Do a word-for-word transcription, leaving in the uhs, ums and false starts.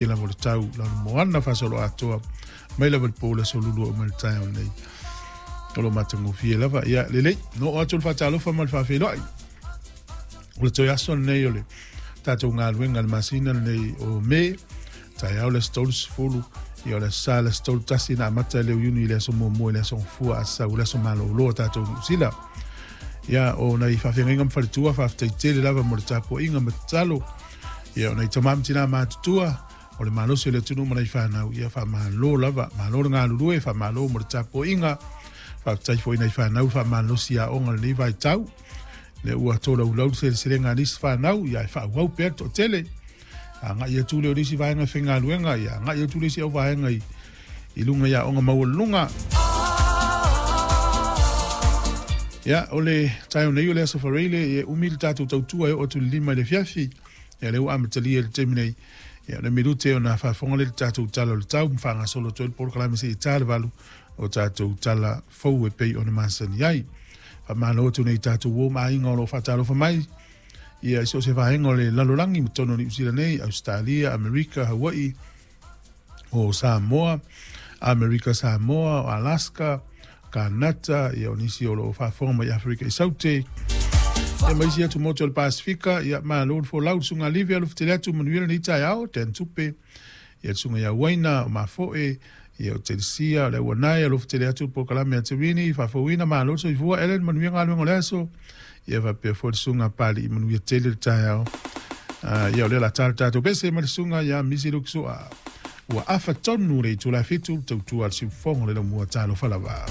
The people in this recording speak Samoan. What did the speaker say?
Lava o le tau lana moana faasoloatoa mai lava i le po o le aso Lulu oo mai le taeao nei o lo matagofie lava. Ia lelei no oo atu le faatalofa ma le faafeiloai o le toe aso lenei o le tatou galuega le masina lenei o Me, taeao le aso tolusefulu, ia o le aso Sa le aso tolu tasi na amata le Iuni i le aso muamua i le aso Gafua a sau le aso malolo o tatou Niu Sila. Ia o nai faafeagaiga ma faletua, faafetai tele lava mo le tapuaiga ma tatalo. Ia o nai tamā ma tinā matutua o le malosi o le atunuu ma nai fanau, ia faamalo lava, malo le galulue, faamalo mo le tapuaiga. Faafetai foi i nai fanau faamalosi aoga lenei vaitau le ua tolaulau le seleselega a nisi fanau, ia e faaauau pea le toatele agai atu lea o le isi vaega faigaluega, ia agai atu le isi au vaega i, i luga i aoga maualuluga. Ia o le taeao nei o le aso Faraile e umi le tatou tautua e oo atu i le lima i le afiafi. Ia lea ua amatalia i le taimi nei. Ia o le minute ona faafofoga lea i le tatou tala o le tau ma faagasolo atu ai le polokalame seia ta le valu o tatou tala fou e pei ona masani ai. Faamalo atu nei tatou uo ma aiga o lo o faatalofa mai ia i so o se vaega o le lalolagi ma totonu o Niu Sila nei, Ausetalia, Amerika, Hawaii, o Samoa, Amerika Samoa, o Alaska, Kanata, ia o nisi o lo o faafofoga mai Aferika i Saute, ia ma isi atu motu o le Pasifika. Ia malo le folau le susuga Livi alofa atu, manuia lenei taeao, Dan Tupe, ia le susuga ia Uaina, o Mafoe, ia o Telesia, o le Auanae, alofa tele atu le polokalame a Terini, faafouina, malo le soifua, Ellen, manuia galuega o le aso, ia faapea foi le susuga Pali, manuia tele le taeao. Uh, ia o lea la tala tatou pese ma le susuga ia Misi Lukisua. Ua afa tonu le itula e fitu, tautua le siufogo le laumua, talofa lava.